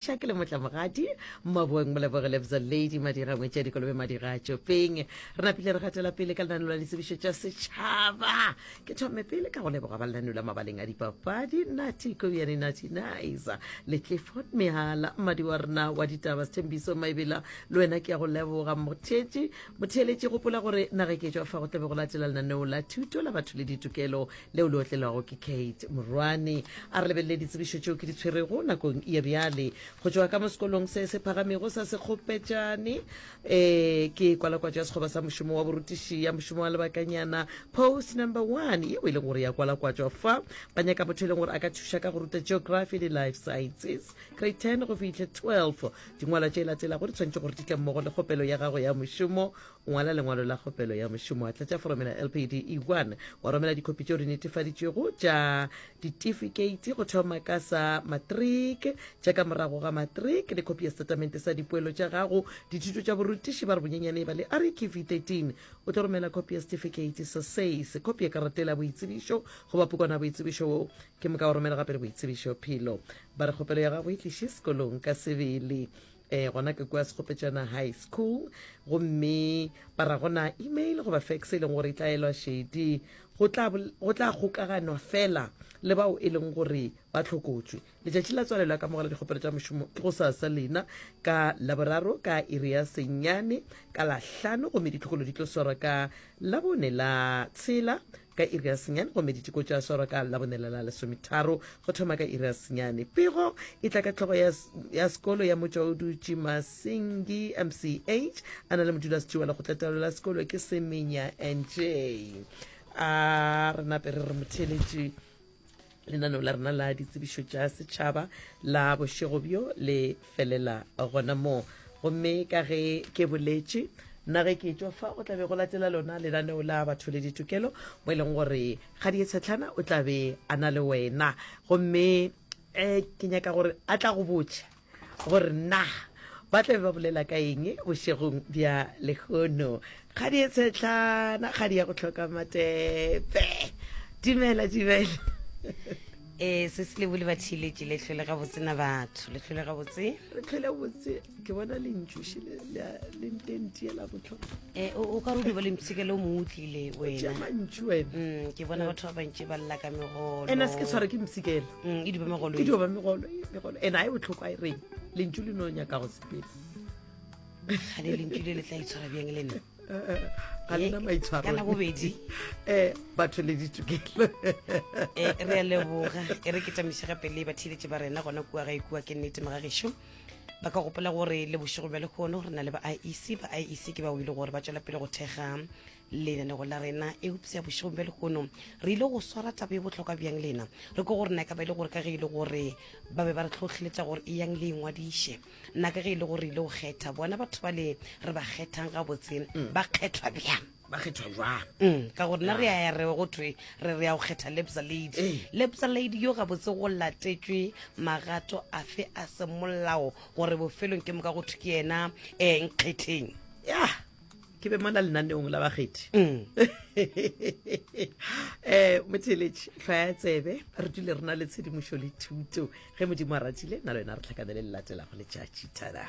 Ke le motlamogadi Mmaboeng Moleboge Lebza Lady Madira Ngwetši ya Dikolobe Madira Tšopeng. Re napile re gatela pele ka lenaneo la ditsebišo tša setšhaba. Ke thome pele ka go leboga ba lenaneo la mabaleng a dipapadi Nati Kobiane Nati Nice le Clifford Mehala mmadi wa rena wa ditaba Sethembiso Maebela le wena ke ya go leboga motheetši motheeletši gopola gore naga ke tšwa fa go tlabe go latela lenaneo la thuto la batho le ditokelo leo le otlelwago ke Kate Morwane. A re lebelele ditsebišo tšeo ke di tshwerego nakong ya bjale go tšwa ka mo sekolong se se phagamego sa Sekgopetšane. E, ke kwalakwatšo ya sekgoba sa mošomo wa borutiši ya mošomo wa lebakanyana post number one yeo e leng gore ya kwalakwatšwa fa. Ba nyaka motho e leng gore a ka thuša ka go ruta geography le life sciences grade 10 go fihle 12. Dingwalwa tše latelago di tshwanetše gore di tle mmogo le kgopelo ya gago ya mošomo Ngwala lengwalo la kgopelo ya mošomo wa tlatša foromela LPD E1 wa romela dikhopi tšeo di netefaditšwego tša ditifikeiti go thoma ka sa matric, tša ka morago ga matric le khopi ya setatamente sa dipoelo tša gago dithuto tša borutiši ba re bonyenyane e ba le RQV 13. O tlo romela khopi ya setifikeiti sa SACE, khopi ya karata ya boitsebišo goba pukwana ya boitsebišo wo ke moka wa romela gape le boitsebišo phelo. Ba re kgopelo ya gago e tliše sekolong ka sebele. eh gona ke kua Sekgopetšana High School gomme ba ra gona email goba fax e leng gore e tla elwa šedi go tla go tla kgokaganwa fela le bao e leng gore ba tlhokotšwe letšatši la tswalelo ya kamogelo dikgopelo tša mošomo ke go sasa lena ka laboraro ka iri ya senyane ka lahlano gomme ditlhokolo di tlo swarwa ka labone la tshela ka iri ya senyane gomme diteko tša swarwa ka labonela la lesometharo go thoma ka iri ya senyane. Pego e tla ka hlogo ya, ya sekolo ya Motšwaodutši Masingi MCH a na le modulasetši wa lekgotlataolo la sekolo ke Semenya NJ. A re nape re re motheeletši lenaneo la rena la ditsebišo tša setšhaba la bošego bjo le felela gona moo gomme ka ge ke boletše nna ge ke tšwa fa o tla be go latela lona lenaneo la batho le ditokelo mo e leng gore ga di tshetlhana o tla be a na le wena gomme um ke nyaka gore a tla go botša gore na ba tla be ba bolela ka eng bošegong bja lehono. Kgadi e tshetlana, kgadi ya go hloka matepe. Dumela, dumela. Ee, se se lebole batheeletši le hlole gabotse na batho le hlole gabotse re hlole botse ke bona lentšuši le ntentiela botlhokwa e o ka re o di ba le mpshikelo o mongwe o tlile wena mantšu wena mm, ke bona batho ba bantši ba lla ka megolo ena se ke tshwara ke mpshikelo Mm, e di ba megolo e dio ba megolo megolo ene a e botlhoko a e reng lentšu le no nyaka go sepela gane lentšu le le tla itshwara bjang le nna ga lena Eh, maitshwaro ka Labobedi. um batho le ditokelo Eh, re a leboga e re ke tamiše gape le batheeletši ba rena gona kua gae kua ke nnete mogagešo ba ka gopola gore le bošego bja lehono re na le ba iec ba iec ke bao e le gore ba tšwela pele go thekga Lenanego la rena, eupša bošegong bja lehono re ile go swara taba e bohlokwa bjang lena? Re ko gore na e ka ba e le gore ka ge e le gore ba be ba re hlohleletša gore eyang le ingwadiše, na ka ge e le gore re ile go kgetha bona batho ba le re ba kgethang gabotse ba kgethwa bjang? Ba kgethwa jwang? Ka gore nna re a ya re go thwe re re ya go kgetha Lebza Lady. Lebza Lady yo gabotse go latetšwe magato afe a semolao gore bofelong ke moka go thwe ke yena um nkgetheng? Ya, ke be mona lenaneong la bakgethi um motheletši hlwaya tsebe re dule re na le tshedimošo le thuto ge modimo a ratile nna le wena re tlhakanele le latelago letšatši thada.